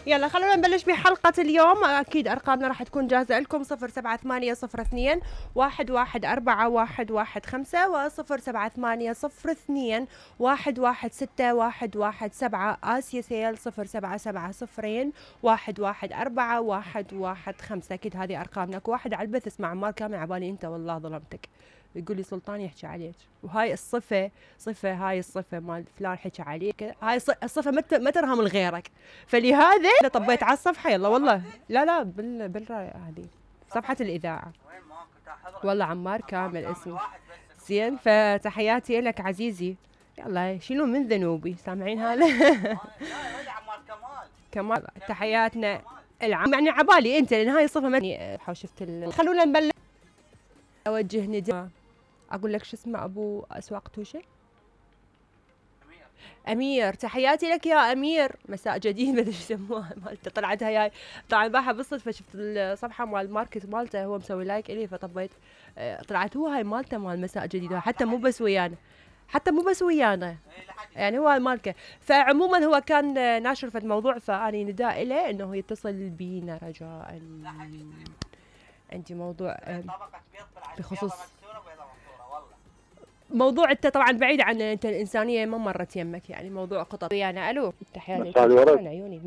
يلا خلونا نبلش بحلقة اليوم. أكيد أرقامنا راح تكون جاهزة لكم 07802 1141115 و 07802 116117 آسيا سيل 0770 1141115. أكيد هذه أرقامنا. واحد على البث اسمع عمار كامل عبالي أنت والله ظلمتك. يقول لي سلطان يحكي عليك، وهاي الصفة هاي الصفة مال فلان حكى عليك، هاي الصفة ما ترهم لغيرك، فلهذا انا طبيت على الصفحة. يلا والله لا بالراي هذه صفحة الإذاعة. والله عمار كامل اسمه زين. فتحياتي لك عزيزي. يلا شيلوا من ذنوبي. سامعين هذا؟ كمال تحياتنا العام يعني عبالي انت، لان هاي الصفة ما شفت خلونا نبلش. اوجه نداء اقول لك شو اسمه ابو اسواق توشه. امير تحياتي لك يا امير. مساء جديد ما ادري ايش يسموها مالته. طلعت هاي طبعا باعها بالصدفه، شفت الصفحه مال الماركت مالته هو مسوي لايك الي فطبيت. طلعت هو هاي مالته مال مساء جديد، حتى مو بس ويانا يعني هو مالكه. فعموما هو كان ناشر في الموضوع، فاني نداء له انه يتصل بينا رجاء. عندي موضوع بخصوص موضوع انت طبعا بعيد عن انت الانسانيه ما مرت يمك، يعني موضوع قطط يعني. الو تحياتي عيوني.